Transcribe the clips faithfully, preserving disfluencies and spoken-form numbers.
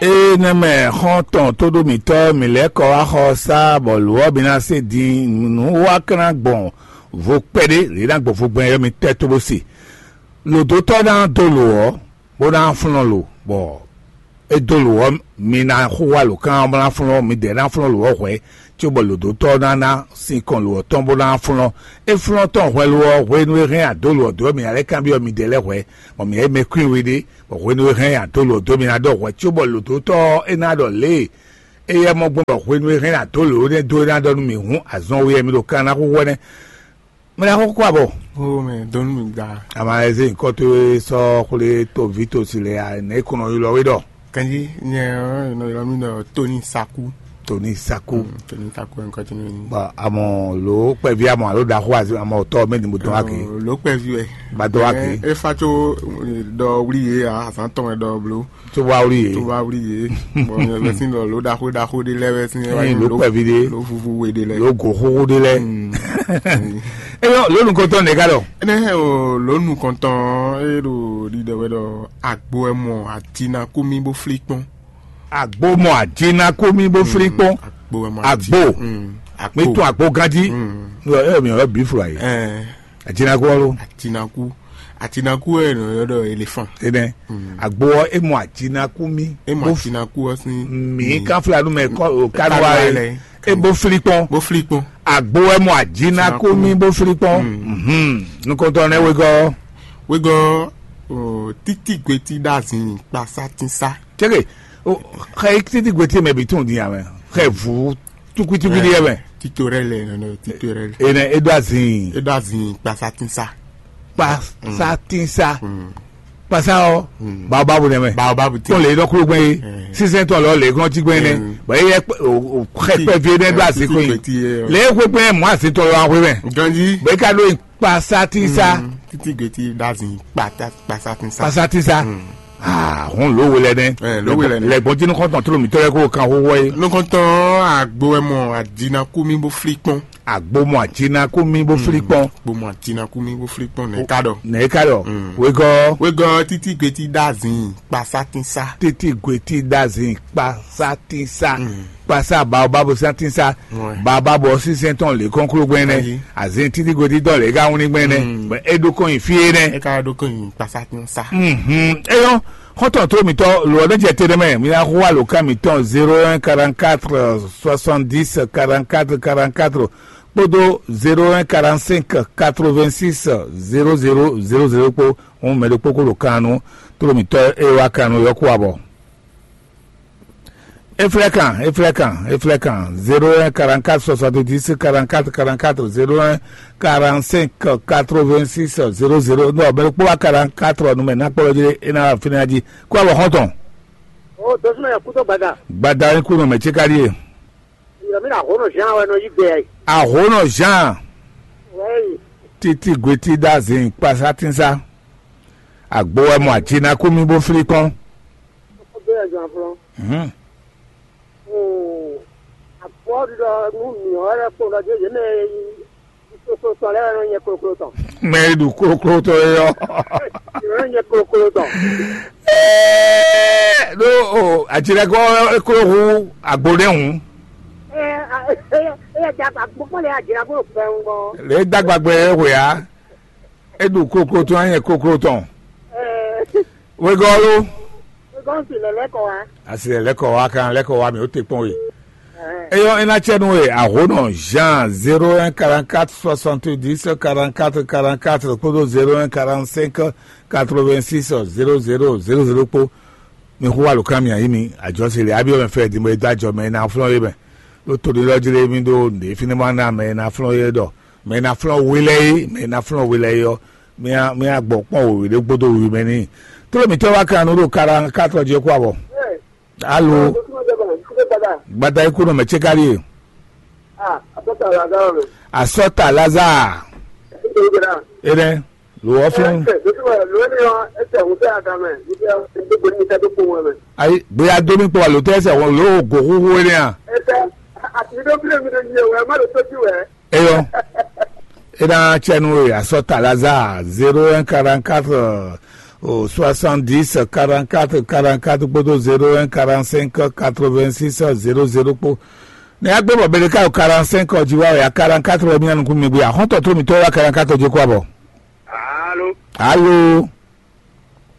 Énɛ́ mɛ xɔ́ntɔn tóɖó mǐtɔn mǐ lɛ́ kɔ wá xɔ sá bɔ lǒ ɔ́ mi ná se din nǔ wá kán ná gbɔn vo kpɛɖé, lě ná gbɔn vo gbɛn ɔ́ mi tɛ́ tó bó se. Lǒdótɔ́ ná dó lǒ ɔ́, bó ná flɔ́n lǒ, bɔ é dó lǒ ɔ́, mi ná xo wá lǒ kán bó ná flɔ́n, midɛɛ ná flɔ́n lǒ ɔ́ hwɛ̌, cóbɔ lǒdótɔ́ ná ná sinkɔn lǒ ɔ́ tɔn bó ná flɔ́n. É flɔ́n tɔn hwɛ lo ɔ́, hwenu e hɛn adó lǒ ɔ́ dó ɔ́, mǐ ná lɛ́ kanbyɔ́ midɛɛ lɛ́ɛ hwɛ̌, bɔ mǐ ná yi mɛ kwín we ɖé, bɔ hwenu e hɛn adó lǒ ɔ́ dó, mǐ ná ɖɔ hwɛ̌ cóbɔ lǒdótɔ́ ɔ́ é ná ɖɔ lě e éyɛ́ mɔ gbɔn bɔ hwenu e hɛn adó lǒ énɛ́ dó é ná ɖɔ nú mǐ hǔn azɔn we wɛ mi ɖo kan ná xúxú ɛnɛ́. Mɛ ná xó kó abɔ. Ó mɛ dɔnnu mi gba. Ama eze nkɔto sɔ xwle to vi to si le a ne kɔnɔ ylɔ we ɖɔ. Kanji nyɛ ɔ nɔ ylɔ mi ɖɔ Tony Saku. Tony Saku. Tony Saku nkɔto mi. Ba amɔ lo kpɛvi amɔ alo da xo azi amɔ tɔ mɛ ni mo dɔn ake. Lo kpɛvi wɛ. Ba dɔn ake. E fa tso dɔ wuli ye a azan tɔn wɛ dɔ blo. Tó wá wuli yé. Tó wá wuli yé. Bɔn nyɛ vɛ sín lɔ ló ɖaxó ɖaxó ɖé lɛ vɛ sín. Ɛyin ló kpɛvi ɖé. Ló vuvu we ɖé lɛ. Ló go xóxó ɖé lɛ. Eyɔ lónú kɔntɔn nìka ɖɔ. Ɛnɛ o lónú kɔntɔn e ɖo ɖiɖɔ wɛ ɖɔ agbo wɛ mɔ adina kú mi bó flí kpɔn. Agbo mɔ adina kú mi bó flí kpɔn. Agbo wɛ mɔ. Agbo. Mi tún agbo ganjí. Ɛ mi ɔ bí fura yìí. Ajinaku ɔ́ lo. Atinaku. Atinaku wɛ nɔ yɔ ɖɔ elefan. Enɛ. Agbo ɔ́ e mɔ ajinaku mì. E mɔ atinaku ɔ́ sín. Mǐ kan fla nú mɛ kɔ o kanuwa e. E bó fli kpɔn. Bó fli kpɔn. Agbo wɛ mɔ ajinaku mì bó fli kpɔn. Nukɔntɔn nɛ wegɔ. Wegɔ titi gweti ɖazin kpasa tinsa. Cɛke xɛ titi gweti mɛ bi tún di amɛ xɛ vu. Tukutuku ɖi yɛ mɛ. Tito rɛ lɛ nɔnɔ tito rɛ lɛ. Enɛ edo azin. Edo azin kpasa tinsa. Kpasa tinsa. Kpasa ɔ. Baobabu nɛ mɛ. Baobabu ti. Tɔn le dɔ kúrò gbɛn ye. Sisan tɔn lɔ le kɔn ti gbɛn nɛ. Bɔn eyɛ xɛ kpɛ vie nɛ do azin ko yin. Le xwe gbɛn mɔ azin tɔn lɔ axwe mɛ. Ganji. Bɛ ka do yin kpasa tinsa. Titi gbeti do azin kpasa tinsa. Kpasa tinsa. Aa hɔn ló we lɛ nɛ. Ló we lɛ nɛ. Lɛgbɔn jínú kɔntɔn tó lomi tɔlɛ kó kan xóxó ye. Nukɔntɔn agbo wɛ mɔ adina kú mi bó fli kpɔn. Agbo mɔ adina kú mi bó fli kpɔn. Agbo mɔ adina kú mi bó fli kpɔn nɛ ka dɔ. Nɛ ka dɔ. Wegɔ. Wegɔ titi gbeti dazin kpasa tinsa. Titi gbeti dazin kpasa tinsa. Kpasa baobabu santinsa. Baobabu ɔ́ sínsɛ́n tɔn lě kɔn kúló gbɛn nɛ. Azin títí godi tɔn lě ka wún ní gbɛn nɛ. Bɔ é ɖó kɔn nyi fí é nɛ. É ka ɖó kɔn nyi kpasa tɔn sa. Eyɔn xɔtɔn tó mitɔ lò ɔ́ ɖé jɛ te ɖé mɛ mi ná xó alo ká mitɔn zéro un quarante quatre soixante dix quarante quatre quarante quatre kpódó zéro un quarante cinq quatre vingt six zéro zéro zéro zéro kpó. Òun mɛ ɖokpó kó ɖo kan nu tó mitɔ é wá kan nu yɔ́kú abɔ. Eflɛkan, eflɛkan, eflɛkan, zéro un quarante quatre soixante dix quarante quatre quarante quatre zéro un quarante cinq quatre vingt six zéro zéro. Non, mɛ ɖokpó wá quarante quatre numɛ ná kpɔlɔ jí é ná wá fínɛ́ jí. Kó abɔ xɔ́ntɔn. O dosúnɔ yɛ kútó gbada. Gbada ní kú nɔ mɛ cíká ɖíe. Yɔmí na hó nɔ Jean wɛ nɔ yí gbé yɛ. Ahónɔ Jean. Wɛyi. Títí gwetí dá zin kpasá tínsá. Àgbo wɛ mɔ àjina kú mì bó flí kpɔ́n. Ó bɛ́ ɛ zɔn aflɔ́n. Mhm. Oo, àgbɔ́ ɖiɖɔ nú mǐ ɔ́ lɛ́ kpo ɖɔ dó yě mɛ e yi kókó tɔn lɛ́ɛ wɛ nɔ nyɛ kloklo tɔn. Mɛ e ɖu kloklo tɔn e ɔ́. Yě nɔ nyɛ kloklo tɔn. Ɛɛ, ɖó o, àjilɛgɔ́ e kló hu àgbo ɖé hǔn. Ɛ ɛ ɛ ɛ dagba gbogbo le adzra bó fɛ ŋgɔ. Lě dagba gbɛ e hwe ǎ. E ɖu kloklo tɔn, e nyɛ kloklo tɔn. Ɛ Wegɔ́ lo. Wegɔ́ si lɛ lɛ kɔ wa. Asi lɛ lɛ kɔ wa kan lɛ kɔ wa mi o te kpɔn we. Eyɔ́ é ná cɛ nú we àhónɔ Jean zéro un quarante quatre soixante dix quarante quatre quarante quatre kpódó zéro un quarante cinq quatre vingt six zéro zéro zéro zéro kpó. Mi xú wa lǒ kan mi ayǐ mi àjọsí lě abyɔ́ mɛ fɛ din bɔ é dó ajɔ mɛ é ná flɔ́n é mɛ. Ɖó toɖélɔ́ jlé mì ɖó nǔɖé fínɛ́ ma ná mɛ e ná flɔ́n é ɖɔ mɛ e ná flɔ́n we lɛ́ɛ é, mɛ e ná flɔ́n we lɛ́ɛ é ɔ́, mía mía gbɔ kpɔ́n wěwé ɖé gbódó wiwi mɛ n'i. Tló mǐtɔn wá kan nǔ ɖo kara katɔ jí kú abɔ. Alo. Gbada ikú nɔ mɛ tse kárí e. Asɔta Lazare. Enɛ lo wɔ fún. Ayi gbéya dó mi kpɔ wà ló tẹ́ sẹ̀ wọ́n ló go xóxó enɛ a. Eyɔ. E ná tsɛ nú we asɔta Lazare zéro un quarante quatre O soixante-dix quarante-quatre quarante-quatre kpódó zéro un quarante-cinq quatre-vingt-six zéro zéro kpó. Ne a gbé bɔ Beleka o quarante-cinq ɔ jí wá o ya quarante-quatre wɛ mía nukún mi gbé axɔ́ntɔ tó mitɔ́ wá quarante-quatre jí kó abɔ. Alo, Alo.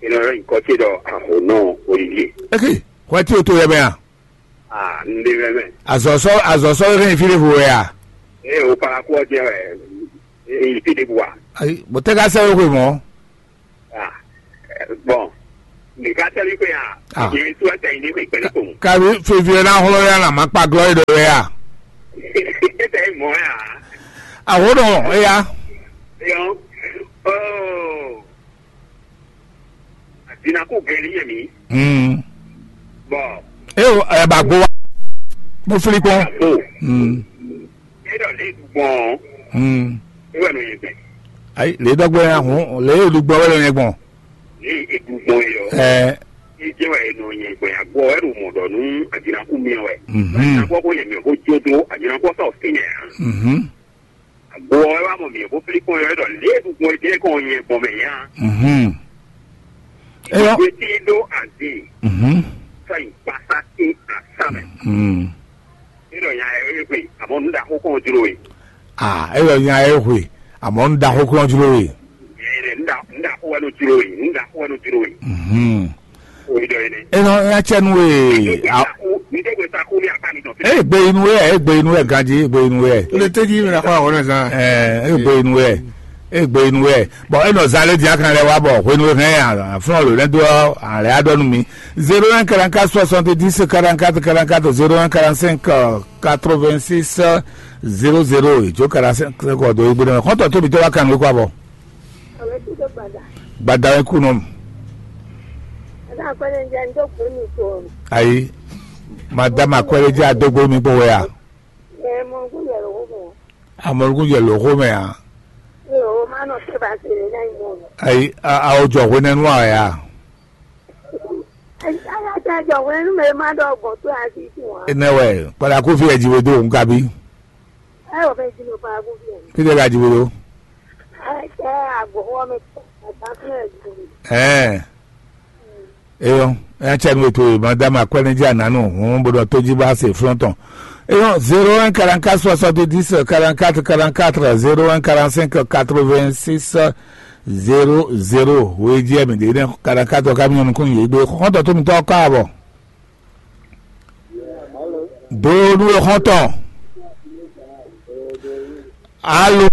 Ino rɛ nyikɔ ce ɖɔ ahonɔ Olivier. Eke, hwɛ tí o tó yɛ mɛ a? Ah, n ɖe mɛ mɛ. Azɔsɔ azɔsɔ yɛ kɛ nyi fi ɖe vo wɛ a? Ee, o para kú ɔjɛ wɛ. Ee, yi fi ɖe bu wa. Ayi, bɔ tɛ ka sɛ wɛ hwe mɔ. Ah, bon. Nika tɛli kwe ya. Ah. Ye tu ata yi ne kwe kpɛlɛ ko. Kabi fevi na hlo ya na ma kpa glɔ yi ɖe wɛ a? Eta yi mɔ ya. Ahonɔ eya. Yo. Oh. Adina ko gɛli yɛ mi. Hmm. Bon. E o ɛ ba gbo wa. Mo fili kpɔn. Oh. Hmm. E ɖɔ le du gbɔn. Hmm. E wɛ no ye gbɛ. Ayi, le dɔgbe ya hun, le du gbɔ wɛ lo ye gbɔn. Le e du gbɔn ye yɔ. Ɛ. E jɛ wɛ e nɔ ye gbɛ ya gbɔ wɛ ɖo mɔ ɖɔ nu adina ku mi wɛ. Mhm. Adina kɔ ko yɛ mi ko jo do adina kɔ sa o fi yɛ. Mhm. Agbo ɔ́ wá mɔ mǐ bó flí kɔn yɔ ɖɔ lě e ɖugbɔn é ɖe kɔn nyɛ gbɔn mɛ nya. Mhm. Eyɔ. Ìgbésí ɖó àzí Mhm. Sɔ ìgbásá sí àsámɛ. Mhm. Níɖɔ nya ɛ é hwe àmọ́ nǔ ɖaxó kɔn jló we. Ah, eyɔ nya ɛ hwe àmọ́ nǔ ɖaxó kɔn jló we. Ǹda ǹda kó wɛ ló jló we ǹda kó wɛ ló jló we. Mhm. Enɔ ya cɛ nu e. Egbe inu yɛ egbe inu yɛ ganji egbe inu yɛ. O le teji mi na xɔ awɔ ne zan. Ɛ egbe inu yɛ egbe inu yɛ. Bɔn enɔ zan le dia kan lɛ wa bɔ hwenu hɛn aflɔn lo lɛ do alɛ adɔ nu mi. Zéro un quarante-quatre soixante-dix quarante-quatre quarante-quatre zéro un quarante-cinq quatre-vingt-six zéro zéro ijo quarante-cinq kɔ do egbe nɛ kɔntɔ tóbi tó wa kan nu kɔ abɔ. Gbada wɛ kú nɔ. Ayi, madame akwɛlɛ jẹ adógbó mi kpó wɛ a? Amɔluku jɛ lǒxó mɛ a? Ayi, awo jɔ hwenɛnu a wɛ a? Enɛ wɛ kpalaku fi ɛjiwe do nkabi. Fide ka jiwe do? Ɛɛ. Eyɔ, ɛn cɛ nu eto madame akwɛnɛji ananu hun bó ɖɔ tóji bá se flɔn tɔn. Eyɔ, zéro un quarante-quatre soixante-dix quarante-quatre quarante-quatre zéro un quarante-cinq quatre-vingt-six zéro zéro. Wéji ɛmɛ ɖe ne quarante-quatre ka mi nukun yě gbé xɔntɔ tó mi tɔ kɔ abɔ. Donu e xɔntɔn. Alo.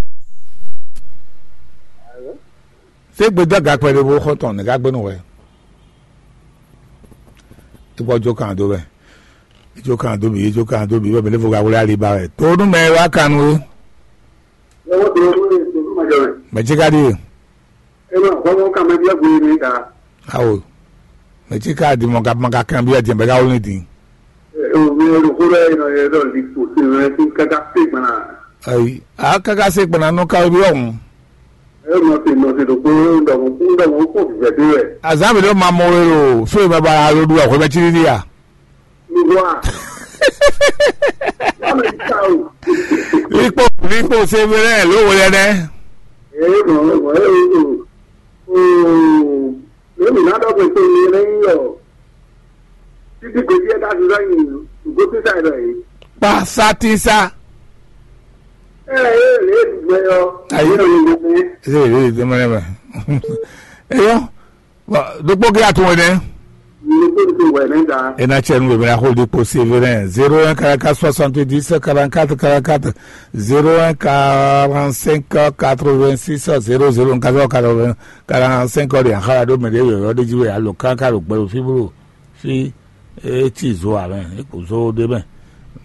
Se gbedɔ gakpɛ ɖe bó xɔntɔn ne ka gbénu wɛ. Ikpɔ jo kan do wɛ. Ijo kan do mi, ijo kan do mi, bɛ mi ne fo ka wlé ali ba wɛ. Donu mɛ wa kan nu. Lọ́wọ́ tó ló lè tó fún ọjọ́ rẹ̀. Mɛ tsi ka ɖi e? Ẹ máa fọwọ́ ká máa jẹ́ gbé mi ta. Awo. Mɛ tsi ka ɖi mɔ ka mɔ ka kan bi ɛ diɛ bɛ ka wolo ni din. Ẹ ò mi ẹ lò kó lọ́ọ́ yìí lọ́ọ́ yẹ lọ́ọ́ lè tó sí rẹ sí káká sí gbọ́nà. Ayi, a kaka se gbɔna nɔ ka bi ɔhun. Ẹ nɔ sí nɔ sí ɖokpó ńdɔ̀mú ńdɔ̀mú kó vivɛ dé wɛ. Azan bi ɖo ma mɔ we lo fo yi baba alo ɖu ɛhwɛ bɛ tsi ɖiɖi a. Mikpɔ mikpɔ se vɛ lɛ ló wo lɛ nɛ. Ee mɔ mɔ ee o o lónìí náà dɔgbe tó yẹ lẹ́yìn yọ títí kò sí ẹ̀dá sísá yìí ìgò sísá ẹ̀ lọ yìí. Kpa sátí sá. Ẹ ẹ lè dùgbẹ́ yọ. Ayi. Ẹ ẹ lè dùgbẹ́ yọ. Eyɔ. Bon, ɖokpó ge atún wɛ nɛ. Ɖokpó ge wɛ nɛ da. Ena cɛ nu wɛ mɛ na xo ɖokpó sévéré zéro un quarante-quatre soixante-dix quarante-quatre quarante-quatre zéro un quarante-cinq quatre-vingt-six zéro zéro nka zɔ quatre-vingt quarante-cinq ɔ de axala ɖo mɛ ɖe yɔyɔ ɖe jí wɛ alo kaka ɖo gbɛ ɖo fí blo fí. Etsi zo amɛ eko zo ɖe mɛ.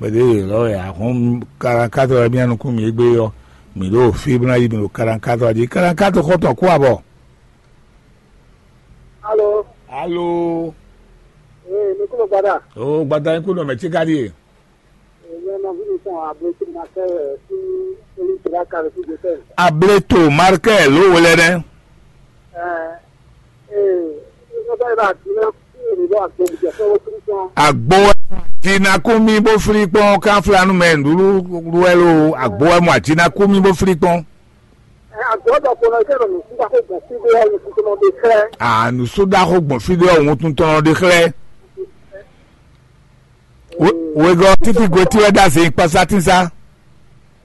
Mɛ ɖe yɔyɔ wɛ ahɔn quarante-quatre wɛ mía nukún mi egbe yɔ mi ɖo fí bla yi mi ɖo quarante-quatre ɔ jí quarante-quatre xɔtɔn kú abɔ. Alo. Alo. Ee, mi kúrò padà. O gbada yín kú nɔ mɛ tí ká ɖíe. Èmi ọmọ bí mi sàn àbúrò tí ma fẹ́ rẹ̀ sí orí ìtura kan sí Joseph. Ableto Markel ló wọlé dɛ. Ẹ ee, ìjọba ìbá àti iná kí èmi bá àti olùjẹ fẹ́ wọ́n tún sàn. Agbo jinakun mi bó fili kpɔn kan filanu mɛ nɖúɖú wɛ lo agbo wɛ mɔ ajinakun mi bó fili kpɔn. Agɔ̌ ɖɔkpɔnɔ jẹ́ ɖɔ nǔsúɖaxó gbɔn fí ɖé ɔ́, nǔsúɖaxó gbɔn fí ɖé ɔ́, wuntun tɔn ɖé xlɛ́. Wegɔ́ títí gwe tí wɛ ɖó azǐ kpásá tínsá.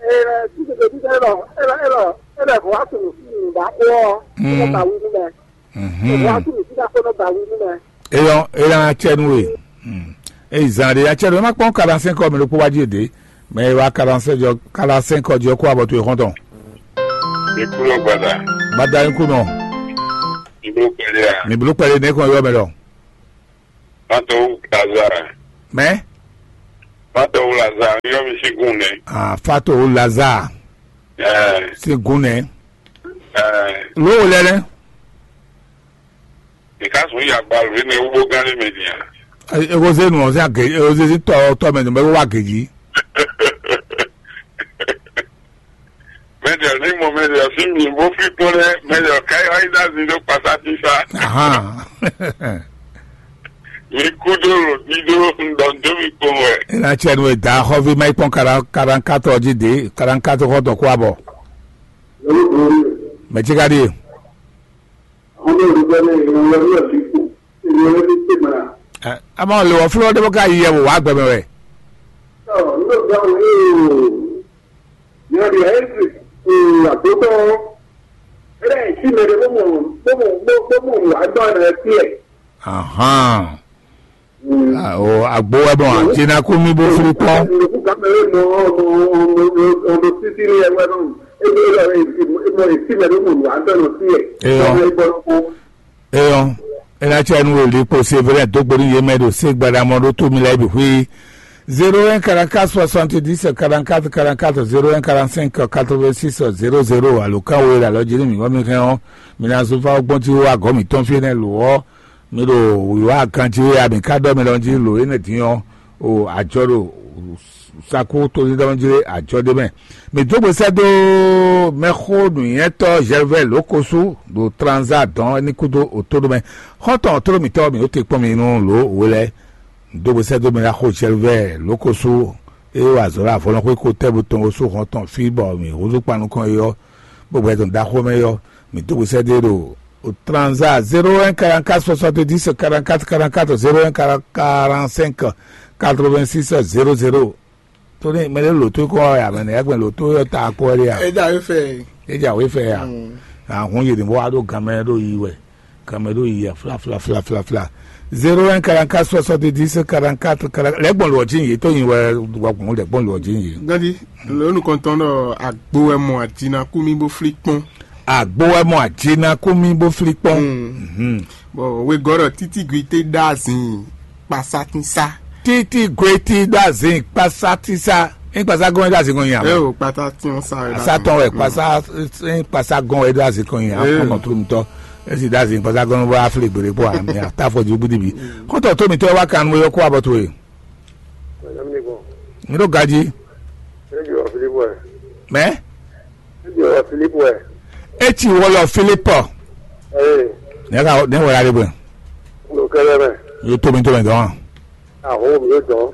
Ela títí gwe tí wɛ ɖɔ ela ela ela hɔn wá tunù sí nǔɖaxó ɔ́, nɔ ba wí nú mɛ. Hɔn wá tunù sí ɖaxó nɔ ba wí nú mɛ. Eyɔn ela cɛ nú we. Eyi zan ɖe ya cɛ nú ma kpɔn kaɖa sɛn kɔ mi ɖokpó wá jí ɖe. Mɛ e wá kaɖa sɛn jɔ kaɖa sɛn kɔ jɔ kó abɔ towe xɔntɔn. Ikú ló gbada. Gbada ikú nɔ. Ibló kpɛɖé a. Mi bló kpɛɖé ne kɔn yɔ mɛ lɔ. Pátó Lazare. Mɛ. Pátó Lazare yɔ mi sí gún nɛ. Ah, Fato Lazare. Ɛɛ. Sí gún nɛ. Ɛɛ. Ló wo lɛ lɛ. Ìkásùn yà gba lórí ní ewúgbó gán ní mi nìyà. Ego zé nu ɔzé age ego zé sí tɔ tɔ mɛ nu mɛ wá geji. Mɛdìɔ ní mo mɛdìɔ sí mi bó fi kpɔ́n lɛ mɛdìɔ káyɔ ayé dá mi ɖó kpasá tísá. Ahan. Mi kú dó lò dídó ŋdɔ dó mi kpɔ́n wɛ. Ina tsɛ nu da xɔvi ma ikpɔn karan karan katɔ ji de karan katɔ xɔtɔ kó abɔ. Mɛ tsi ka ɖi. Ama le wɔ flɔ ɖe bɔ ka yi yɛ wò wá gbɛmɛ wɛ. Ɔ, n bɛ gba wò ní o. Yɛ di ɛ ti o àgbótɔ. Ɛ ti mɛ de bó mɔ bó mɔ bó bó mɔ wà dɔ ɛ ti ɛ. Ahan. O agbo wɛ bɔn àti na kú mi bó firi kpɔn. Nukú gamɛ ɛ mɔ ɔ mɔ ɔ mɔ ɔ mɔ títí ní ɛ wɛ nɔ. Ɛ ti mɛ de mɔ wà dɔ ɛ ti ɛ. Eyɔ. Eyɔn, ena tsɛ nu wòlí kpo se vɛlɛ dó gbe nú yě mɛ ɖo sé gbadamɔ ɖó tó mi lɛ́ɛ bǐ xwí. Zéro un quarante-quatre soixante-dix quarante-quatre quarante-quatre, zéro un quarante-cinq quatre-vingt-six zéro zéro, alo kan wo e ɖo alɔ jí nú mǐ bɔ mi hɛn ɔ́, mi ná zó fá gbɔn jí wá gɔ̌ mǐtɔn fí énɛ́ lo ɔ́, mi ɖo wǐwá ganjí wé a mǐ ká ɖɔ mi lɔ jí lo énɛ́ dín ɔ́, o ajɔ ɖo Saku to ní dɔn jlé ajɔ ɖé mɛ. Mi dó gbe sɛ́ dó mɛxó nǔnywɛ́tɔ́ Gervais Lókosú ɖo Tranza dɔn ní kúdó òtó ɖó mɛ. Xɔ́ntɔn tló mǐtɔn mi ó te kpɔ́n mi nú lǒ we lɛ́ɛ. Mi dó gbe sɛ́ dó mɛ ná xó Gervais Lókosú é wa azɔ̌ ɖo avɔlɔ́xwé ko tɛ́ bo tɔn osú xɔ́ntɔn fí bɔ mi húzú kpan nukɔn é ɔ́, bó gbɛ tɔn dó axó mɛ é ɔ́, mi dó gbe sɛ́ dó é ɖo Tranza zéro un quarante-quatre soixante-dix quarante-quatre quarante-quatre, zéro un quarante-cinq quatre-vingt-six zéro zéro. Tóní mɛ ɖé lǒ tó kɔ wá ya mɛ nɛ yɛgbɛn lǒ tó yɔ ta kpɔ wɛ ɖe ya. Eda wé fɛ. Edza wé fɛ ya. Ahun yi ni bɔ wa ɖo gamɛ ɖo yi wɛ, gamɛ ɖo yi ya fla fla fla fla fla. Zéro un quarante-quatre soixante-dix quarante-quatre quarante lɛgbɔn lɔ dzi yi tó yi wɛ wa gbɔn lɛgbɔn lɔ dzi yi. Gadi, lónìí kɔntɔn ɖɔ agbo wɛ mɔ àdínà kú mi bó flí kpɔn. Agbo wɛ mɔ àdínà kú mi bó flí kpɔn. Bɔn wegɔ́ ɖɔ títí gwi té ɖó azin kpasátúnsá. Títí gwe tí ɖó azin kpasátúnsá. Ní kpasá gɔn wɛ ɖó azin kɔn nyi ɛ àmọ́. O kpasátúnsá wɛ ɖó azin. Asátɔn wɛ kpasá ní kpasá gɔn wɛ ɖó azin kɔn nyi àmọ́. Ee. Mɔ tó nutɔ. Esi ɖó azin kpasá gɔn bó aflé gbèrè kpó àmì àtàfọ̀ ju bídìbí. Kótó tó mi tọ́ wá kan nú yọ kó abọ́ tó ye. Mi ɖó gají. Mɛ. Etsi wɔlɔ Filipɔ. Nɛ ka nɛ wɔ la de bɔ. Yóò tó mi tó mɛ dɔn. Aho mi yóò dɔn.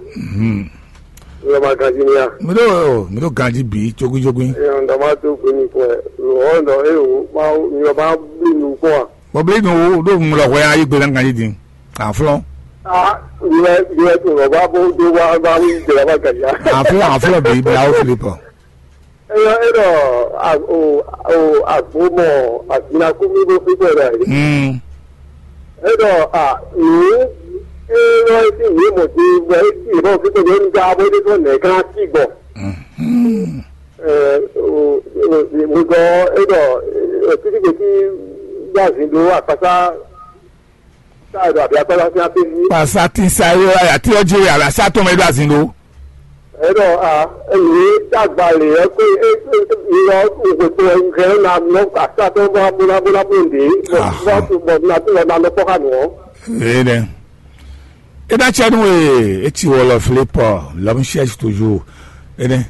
Mi yóò ma ganji mi ya. Mi ɖo mi ɖo ganji bi jogun jogun. Ŋdɔ ma tó gbé mi kɔ ɛ. Lò ɔ ŋdɔ e o ma mi yɔ ma bí nu kɔ wa. Bɔbili nu wo ɖo ŋlɔ hwɛ ayi gbe na ganji din. Aflɔn. Ah, mi yɛ mi yɛ tó lɔ ba bó dó wa ba wí jẹ ba ganji ya. Aflɔn aflɔn bi bi awo Filipɔ. Eyɔ e ɖɔ agbo mɔ azinakú mí bó fífɛ ɖɔ e. Mm. E ɖɔ a nǔ e ɖɔ e sín yě mɔ din bɔ e sín yě mɔ fífɛ ɖɔ e ní ká bó ɖé fɔ nɛ̌ ká cí gbɔ. Mhm. Ɛ o o o gɔ e ɖɔ e títí gbèsè gbazin ɖó akpasá. Kpasati sa yɔ ya ti ɔdzi ya la sa tɔn mɛ do azin do. Ɛnɔ a eye dagba le ɛ ko e e e yɔ ŋgbɛgbɛ ŋgɛ na nɔ kpasatɔ bɔ abona bona bo de bɔ bɔ bɔ na to na nɔ kpɔ ka nɔ. Ee dɛ. E da tsɛ nu e e ti wɔ lɔ fle pɔ lɔm sɛs toju. Ene.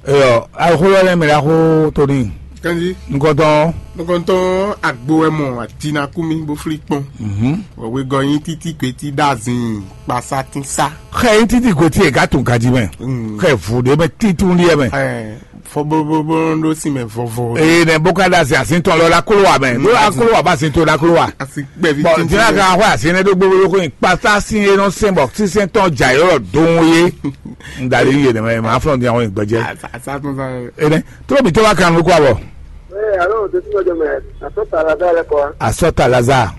Eyɔ, axó lɔ lɛ mɛ ɖaxó tóní. Kanji. Nukɔntɔn. Nukɔntɔn agbo wɛ mɔ atina kú mi bó flí kpɔn. Mhm. Wɔ wegɔ nyi títí kwetí dazin kpasatínsa. Xɛ nyi títí kwetí yɛ gàtún gàdí mɛ. Mm. Xɛ vù ɖé mɛ títún liɛ mɛ. Ɛ. Bɔbɔbɔbɔ ɖó sin mɛ vɔvɔ. Eye nɛ bó ka ɖo azin azin tɔn lɔ ɖo aklo wa mɛ. Ɖó aklo wa bá azin to ɖo aklo wa. Asi gbɛvi Bɔn tíntín. Dina ka xɔ azin nɛ ɖó gbogbo ko kpata sin e nɔ sɛn bɔ sísɛn tɔn dza yɔrɔ dɔn ye. N da li ye nɛ mɛ ma flɔn di àwọn ìgbɛjɛ. Asa tún sa. Ene tó mi tó wa kan lukú abɔ. Ee, alo, de tún lɔjɔ mɛ, asɔ ta la da lɛ kɔ. Asɔ ta la za.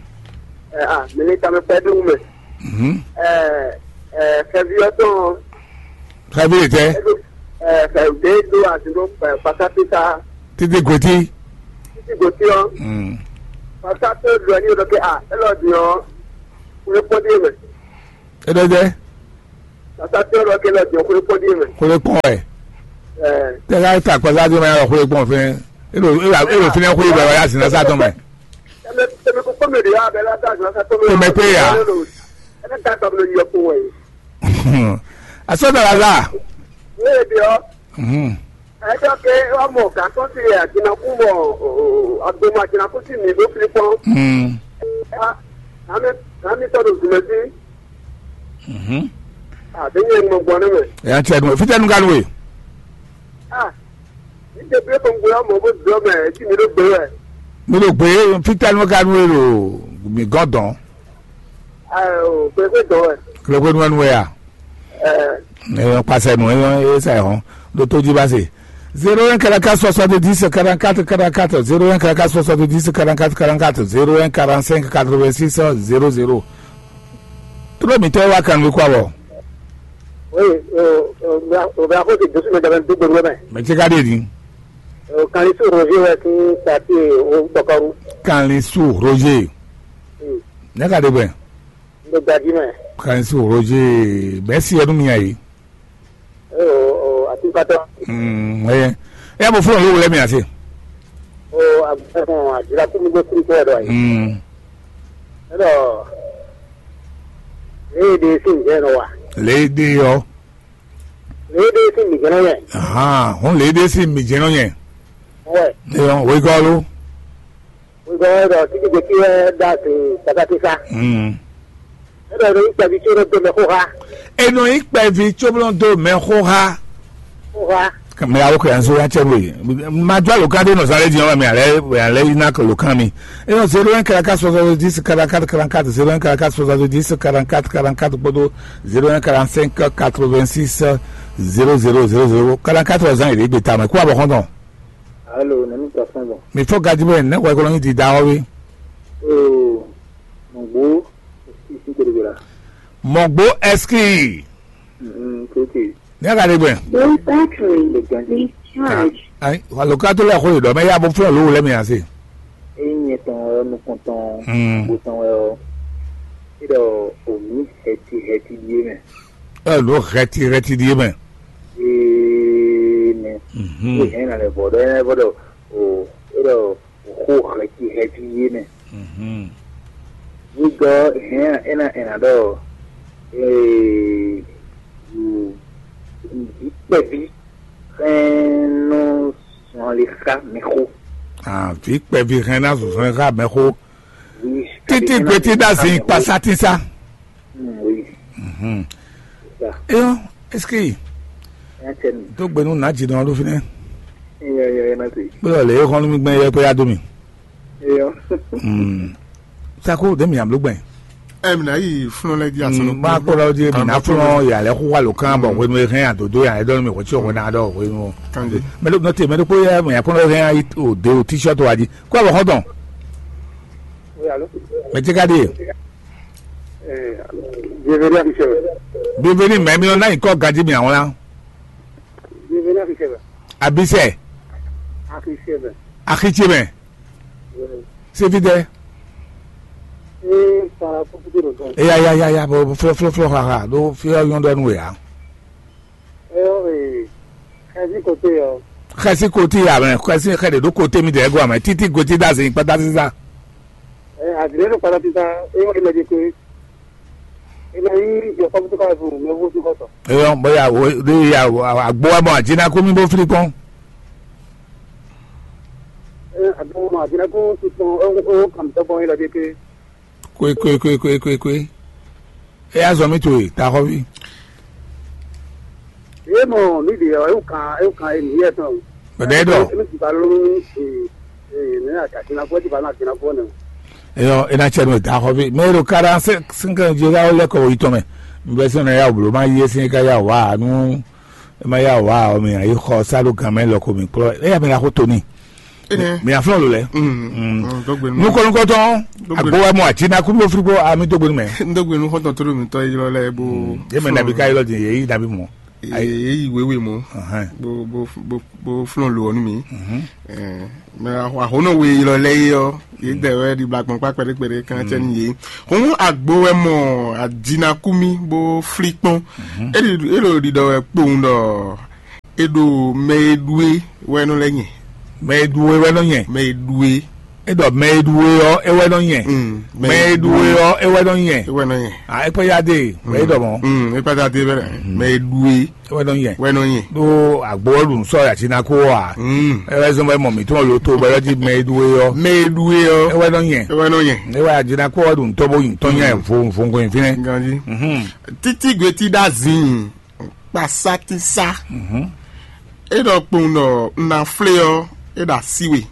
Ɛ a, mi ni tamɛ pɛ dun mɛ. Mhm. Ɛ ɛ, fɛvi ɔtɔn. Fɛvi tɛ. Ɛ do ɛ fɛ de do asi do ɛ pasa tita. Títí gòtí. Títí gòtí ɔ. Mm. Pasa tó do ɛni o dɔ ke a, ɛ lɔ di ɔ, kúlé kpɔdé mɛ. Ɛ dɔ jɛ. Pasa tó lɔ ke lɔ di ɔ, kúlé kpɔdé mɛ. Kúlé kpɔn ɛ. Ɛ. Tɛ ka ta kpasa tó mɛ yà lọ kúlé kpɔn fɛ. Elo elo elo finɛ kúlé bɛ wà yà sinna sa tó mɛ. Tɛmɛ tɛmɛ kó kpɔmɛ de yà bɛ la ta sinna sa tó mɛ. Tɛmɛ pé ya. Ɛ ne ta tɔ mi yɔ kó wɛ. Asɔ dɔ la la. Ní èdè ɔ. Mhm. Ɛ dɔ ke wa mɔ gǎn tɔn ti yɛ àjìnàkú mɔ agbomɔ àjìnàkú ti mǐ ɖó fili kpɔn. Mm. Ami ami tɔ ɖo zùmɛ sí. Mhm. Àbí nyɛ mɔ gbɔn ní mɛ. Ɛ yà tiɛ nu fitɛ nu ka nu we. Ah, ní tẹ bí kò ń gbé ọmọ bó dùn ọmọ ẹ tí mi ló gbé wẹ. Mi ló gbé fitɛ nu ka nu we lo mi gɔn dɔn. Ẹ ò pé pé dùn ẹ. Kìlọ̀ pé nu ẹ nu we ya. Ẹ. Ẹ yọ kpasẹ̀ nu ẹ yọ ẹ sẹ̀ hàn ló tó jí bá se. Zéro un quarante-quatre soixante-dix quarante-quatre quarante-quatre, zéro un quarante-quatre soixante-dix quarante-quatre quarante-quatre, zéro un quarante-cinq quatre-vingt-six zéro zéro. Tló mǐtɔn e wá kanwekú abɔ. Oui, o o o bɛ ko ti dusu mɛ dɛmɛ dugbe ŋgɔ mɛ. Mɛ ce ka ɖe din. O kan isu Roger wɛ ti tati o kpɔkɔru. Kan isu Roger. Hmm. Ne ka ɖe bɛ. Ndo gaji mɛ. Kan isu Roger bɛ si ɛnu mi ayi. O o ati patɔ. Hmm, ɛ ɛ bɔ fún olówó lɛ mi ase. O agbẹmọ àdúrà kú mi gbé kúrú kúrò dọ yìí. Hmm. Ẹ dọ. Ee de sí ǹjẹ́ ẹ nọ wa. Lě e ɖe ɔ́. Lě e ɖe sín mǐ jɛ́n nɔ nyɛ. Ahan, hɔn lě e ɖe sín mǐ jɛ́n nɔ nyɛ. Wɛ. Eyɔn, wegɔ́ lo. Wegɔ́ wɛ ɖɔ títí gbèsè wɛ ɖa sí kpakpákísá. Hmm. Ẹ dɔ ní kpɛví tí ó nɔ dó mɛ xóxá. Enɔ yí kpɛví tí ó nɔ dó mɛ xóxá. Xóxá. Mɛ awo kɛ yanso ya cɛ mo yi. Ma jɔ alo kan de nɔ zan lé di ɔn mɛ alɛ alɛ yi na lo kan mi. Enɔ zéro un quarante-quatre soixante-dix quarante-quatre quarante-quatre, zéro un quarante-quatre soixante-dix quarante-quatre quarante-quatre kpódó zéro un quarante-cinq quatre-vingt-six zéro zéro zéro zéro quarante-quatre zan yìí gbé tamɛ kó abɔ xɔntɔn. Alo, nɛnu tɔ fɛn bɔ. Mi fɔ gadi bɛ ne wɛ kɔnɔ di da wɔ bi. Oo, mɔgbo, isi isi kele bela. Mɔgbo ɛski. Mm, ok. Ne ka de gbɛ. Low battery. Le gandi. Recharge. Ayi, walo ka to lɛ xo yi dɔ mɛ ya bo fɛn lo lɛ mi ase. Eyi nyɛ tɔn wɛ nukɔn tɔn. Mm. Bo tɔn wɛ o. Idɔ omi hɛti hɛti die mɛ. Ɛ lo hɛti hɛti die mɛ. Ee mɛ. Mhm. Ee hɛn na lɛ bɔ dɔ ɛ bɔ dɔ o idɔ o xo hɛti hɛti die mɛ. Mhm. Nyigɔ hɛn ena ena dɔ ee vǐ kpɛví hɛn nɔ zɔn ali xa mɛ xo. Ah, vǐ kpɛví hɛn ná zɔn ali xa mɛ xo. Títí gbetí dá zin kpasá tísá. Eyɔn, est-ce que tó gbenu nà jì dɔn ló fi nɛ? Kpé ɔlẹ yẹ xɔnu mi gbɛn yẹ kpé ya dó mi. Sako de mi amlo gbɛn. Ɛ mi na yi flɔn lɛ di asɔnɔ. Ma kpɔ la di mi na flɔn ya lɛ xɔ wa lo kan bɔ wenu e hɛn adodo ya e dɔn mi ko tsi o na dɔ wenu. Mɛ do nɔte mɛ do kpó ya mɛ ya kpɔn hɛn ayi o de o t-shirt wa di. Kó abɔ xɔtɔn. Mɛ ti ka di. Bienvenue à Michel. Bienvenue mɛ mi na yi kɔ gadi mi awon la. Bienvenue à Michel. Abisɛ. Akisɛ mɛ. Akisɛ mɛ. Sefi tɛ. Ee, sara kúkúté ló tɔn. Eya ya ya ya bɔ flɔ flɔ flɔ haha ɖo fi yɔ yɔn ɖɔ nu ya. Ee, ee, xɛsi kote yɔ. Xɛsi kote ya mɛ xɛsi xɛ de ɖo kote mi de ɛgɔ amɛ títí goti da zin kpata sisa. Ee, azile ɖo kpata sisa, ee, wọ́n ti lɛ di koe. Ina yi yɔ kɔmputu ka bu mɛ wo ti kɔtɔ. Eyɔ bɔ ya wo de ya agbo wa bɔ adzina ko mi bo fili kpɔn. Ee, agbo ma adzina ko ti kpɔn o o kam tɔ bɔ yi la de ke. Kwe kwe kwe kwe kwe kwe. E ya zɔ mi to e ta xɔ vi. Ye mɔ mi de yɔ ewu kan ewu kan e mi yɛ tɔn. Bɛdɛ dɔ. Emi ti ba lónú ní ee ee ní àgàtìnàkú ẹ ti ba ní àgàtìnàkú ẹ nẹ. Eyɔ, ena tsɛ nɔ da xɔ fi mɛ ɖo quarante cinq ans jɛ ya lɛ kɔ yi tɔn mɛ. Mbɛ sɛ na ya wò blo ma yi esi ka ya wà nu. E ma ya wà ɔ mi ayi xɔ sa ɖo gan mɛ lɔ ko mi kplɔ eya mi na xo toni. Enɛ. Mi aflɔ lo lɛ. Mm. Mm. Mm, dɔgbe nu. Nukɔnukɔtɔn. Dɔgbe nu. Agbo wa mɔ ati na kú mi ofri ko ami dɔgbe nu mɛ. Dɔgbe nu xɔtɔn tó mi tɔ yi lɔ lɛ bo. Ye mɛ nabi ka yi lɔ di ye yi nabi mɔ. Ayi. Ye yi wewe mɔ. Ahɛn. Bo bo bo bo flɔn lo ɔnu mi. Mhm. Ɛɛ, mɛ ahonɔ we yi lɔ lɛ yi ɔ. Ye dɛ wɛ di bla kpɔn kpa kpɛɖe kpɛɖe kan cɛ ni ye. Hɔn agbo wɛ mɔ adinakumi bo fli kpɔn. Mhm. Eli elo ɖiɖɔ wɛ kpowun ɖɔ e ɖo mɛ e ɖu e wɛ nɔ lɛ nyɛ. Mɛ e ɖu e wɛ nɔ nyɛ. Mɛ e ɖu e. E ɖɔ mɛ e ɖu e ɔ e wɛ nɔ nyɛ. Mm, mɛ e ɖu e ɔ e wɛ nɔ nyɛ. E wɛ nɔ nyɛ. A ekpɛ ya de wɛ e ɖɔ mɔ. Mm, ekpɛ ya de wɛ mɛ e ɖu e. E wɛ nɔ nyɛ. Wɛ nɔ nyɛ. Ɖo agbo ɔ ɖu sɔ yati na ko wa. Mm. E wɛ zɔn bɛ mɔ mi tɔn lo to bɛ yɔ di mɛ e ɖu e ɔ. Mɛ e ɖu e ɔ. E wɛ nɔ nyɛ. E wɛ nɔ nyɛ. E wɛ ati na ko ɔ ɖu tɔ bo yi tɔ nyɛ vo vo nko yin finɛ. Ganji. Mhm. Títí gbe tí ɖa zin. Kpasatisa. Mhm. E ɖɔ kpowun ɖɔ un ná flé ɔ́, é ɖo así we.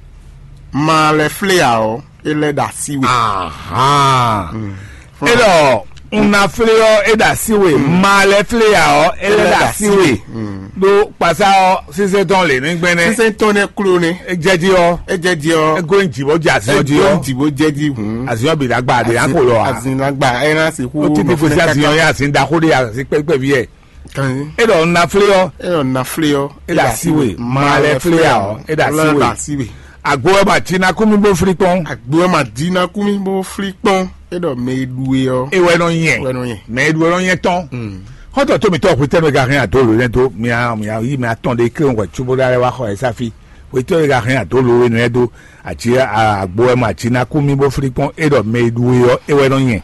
Ma lɛ́ flé ǎ ɔ́, é lɛ́ ɖo así we. Ahan. Mm. E ɖɔ un ná flé ɔ́, é ɖo así we. Mm. Ma lɛ́ flé ǎ ɔ́, é lɛ́ ɖo así we. Mm. Ɖó kpasá ɔ́, sísɛ́ tɔn lě ní gbɛnɛ. Sísɛ́ tɔn nɛ klo nɛ. E jɛ jí ɔ́. E jɛ jí ɔ́. E gó ń jì bó jɛ azin ɔ́ jí ɔ́. E gó ń jì bó jɛ jí hùn. Azin ɔ́ bǐ ɖagba ɖe á kpo lɔ a. Azin ɖagba ɛ ná sixú. Ó ti di kò sí azin ɔ́ yá azin ɖaxó ɖe azin kpɛkpɛ ví yɛ. Kan. E ɖɔ un ná flé ɔ́. E ɖɔ un ná flé ɔ́. E ɖo así we. Ma lɛ flé ɔ́. E ɖo así we. Agbo ɛ ma jí ná kú mi bó flí kpɔ́n. Agbo ɛ ma jí ná kú mi bó flí kpɔ́n. E ɖɔ mɛ e ɖu e ɔ́. E wɛ nɔ nyɛ. Wɛ nɔ nyɛ. Mɛ e ɖu e nɔ nyɛ tɔn. Mm. Xɔ́ntɔn tó mi tɔn xwetɛ́nu e ka hɛn adó lǒ nɛ́ dó mia mia yí mia tɔn ɖe kí wọ́n wɛ cóbó ɖá lɛ́ wá xɔ ɛ sáfí. Xwetɛ́nu e ka hɛn adó lǒ e nɛ́ dó àjí agbo ɛ ma jí ná kú mi bó flí kpɔ́n. E ɖɔ mɛ e ɖu e ɔ́, e wɛ nɔ nyɛ.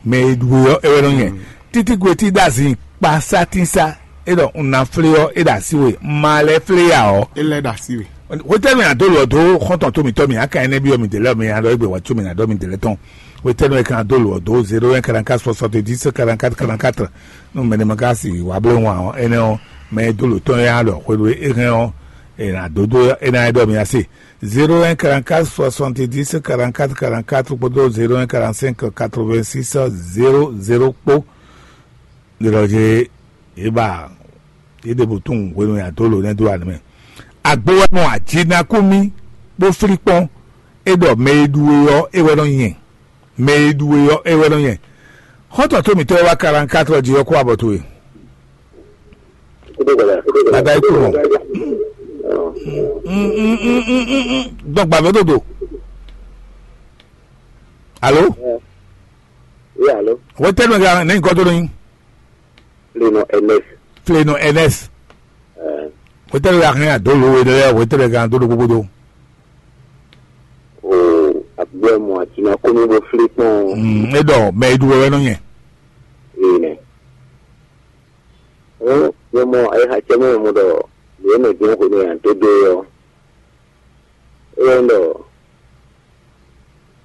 Mɛ e ɖu we ɔ́, é wɛ nɔ nyɛ. Títí gbe tí ɖo azin kpa sátínsa, é ɖɔ un ná flé ɔ́, é ɖo así we, ma lɛ́ flé ya ɔ́. É lɛ́ ɖo así we. Hwetɛ́nu mɛ adó lɔ dó xɔ́ntɔn tó mǐtɔn mì, aka ɛnɛ byɔ́ mi dě lɛ́ mi ná ɖɔ égbé wá có mi ná ɖɔ mi dě lɛ́ tɔn. Hwetɛ́nu mɛ kan adó lɔ dó zéro un quarante-quatre soixante-dix quarante-quatre quarante-quatre. Nú mɛ ɖé ma ka si wǎ bló wan ɔ́, énɛ́ ɔ́, mɛ e dó lǒ tɔn ya ɖɔ xwéɖu é hɛn ɔ́, è nǎ dó dó é ná é ɖɔ mi ná se. Zéro un quarante-quatre soixante-dix quarante-quatre quarante-quatre kpódó zéro un quarante-cinq quatre-vingt-six zéro zéro kpó. Ɖiɖɔ ce é ba é ɖe bǔ tunwun hwenu e adó lǒ nɛ́ dó anǐ mɛ. Agbo wɛ mɔ ajinakú mì bó flí kpɔ́n, é ɖɔ mɛ e ɖu we ɔ́, é wɛ nɔ nyɛ. Mɛ e ɖu we ɔ́, é wɛ nɔ nyɛ. Xɔ́ntɔn tó mǐtɔn e wá quarante-quatre jí ɔ́ kó abɔ towe. Bàbá ikú mọ̀. Dɔn gbàgbé dòdò. Alo? Oui, alo. Wetɛnu ga ne nkɔ tó ní. Fleno Ernest. Fleno Ernest. Wetɛnu ga hɛn adolo we lɛ wetɛnu ga dolo gbogbo do. O agbɛ mɔ atina kónú bó flí kpɔn. Mm, e dɔ mɛ idu wɛ nɔ nyɛ. Ee nɛ. Ó, nyɛ mɔ ayixa cɛ mɛ mɔ ɖɔ lě e mɛ jɛ́n xwe nú nya dó dó é ɔ́, é wɛ ɖɔ,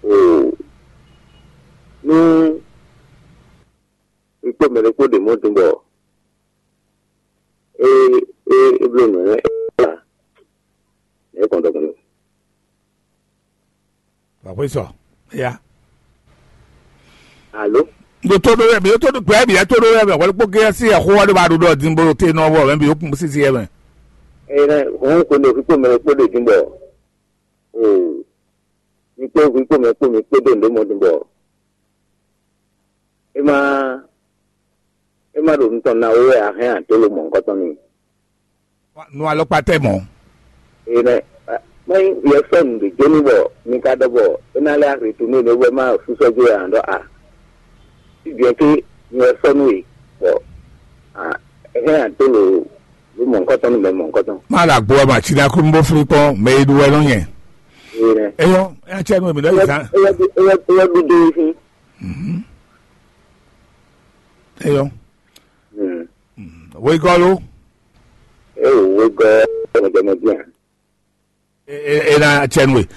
o, nú un kpó mɛ ɖé kpó ɖe mɔ̌ din bɔ é é é bló nǔ nɛ́ é gbɔn dɔkun. Wàá xwé sɔ ya. Alo. Ndo tó ɖó yɛ mi tó ɖó gbɛ mi yɛ tó ɖó yɛ mɛ wɛlɛ kpó gé sí ɛxó wá ɖó ba ɖó ɖɔ dín bó té nɔ wɔ mɛ bi ó kún sísí yɛ mɛ. Eye nɛ hɔn ko ne fi kpó mɛ kpó ɖe dín bɔ o mi kpó mi kpó mɛ kpó mi kpó ɖo nɖé mɔ dín bɔ e ma e ma ɖo nutɔn na wɛ a hɛn a dó lo mɔ nukɔtɔn ni. Nu alɔkpa tɛ mɔ. Ee nɛ, mɛ yɛ sɔ nu ɖe jónú bɔ mi ka ɖɔ bɔ e na lɛ aretourné ɖe wɛ ma susɔ jó ya ɖɔ a. Ti bien ke mi wɛ sɔ nu e bɔ a hɛn a dó lo lo mɔ nukɔtɔn nu mɛ mɔ nukɔtɔn. Má ɖo agbo ɔmɛ àti ní akúnbó fún kpɔn mɛ e ɖu wɛ nɔ nyɛ. Ee nɛ. Eyɔ, ẹ tsɛ nu èmi lɔ yìí zan. Eyɔ eyɔ eyɔ ɖu dó fún. Mhm. Eyɔ. Mm. Wegɔlo. Ewo wegɔ mɔdɛmɔdɛn. E, e, e na tsɛ nu e.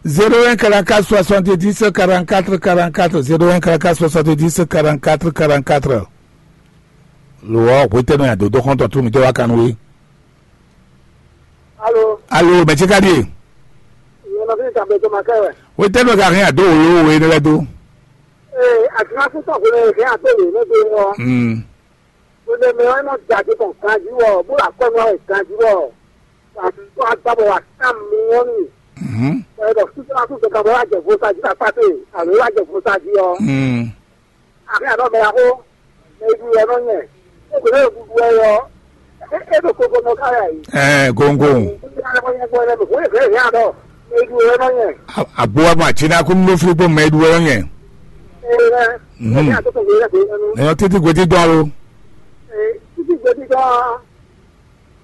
Zéro un quarante-quatre soixante-dix quarante-quatre quarante-quatre, zéro un quarante-quatre soixante-dix quarante-quatre quarante-quatre. Lo ɔ hwetɛnu ya dodo xɔntɔn tu mi tɛ wa kanu we. Alo. Alo, mɛ ce ka ɖíe? Ìyẹn nɔ fí ní tàbí ètò màkẹ́ wẹ̀. Wétɛ́nu ka hɛn àdó wòló we énɛ́ lɛ́ɛ dó? Ee, àtúnásúntọ̀ kò lè hɛn àtó lè ló dé wọn. Mm. Kò lè mɛ ɔ́ nɔ jàdé bọ̀ ganjí wɔ, bó lè akɔ́nú ɔ́ ganjí wɔ. Àtúntò agbábọ̀ wà ká mi wọ́n mi. Mhm. Ẹ bọ̀ súnmọ́ súnmọ́ kan bọ̀ wá jẹ vo sa jí ta pàtó, àlọ́ wá jẹ vo sa jí ɔ. Mm. Àbí àná mɛ yàgò, mɛ idu yɛ nɔ nyɛ. Ó kò lè dudu ɛ yɔ. É é ɖo koko nɔ ká yà yìí. Ɛ, gongo. Ó ti ká lẹ́kọ̀ọ́ yẹn gbọ́ ẹ lẹ́nu, kò lè fẹ́ yà dɔ. Mɛ idu yɛ nɔ nyɛ. Agbo wa ma tina kún ló fili kpó mɛ idu wɛ nyɛ. Ẹ ẹ. Mhm. Ẹ ní àtúntò kò lè fẹ́ yẹn nu. Ẹ yọ títí gbèdí dán lo. Ẹ títí gbèdí dán.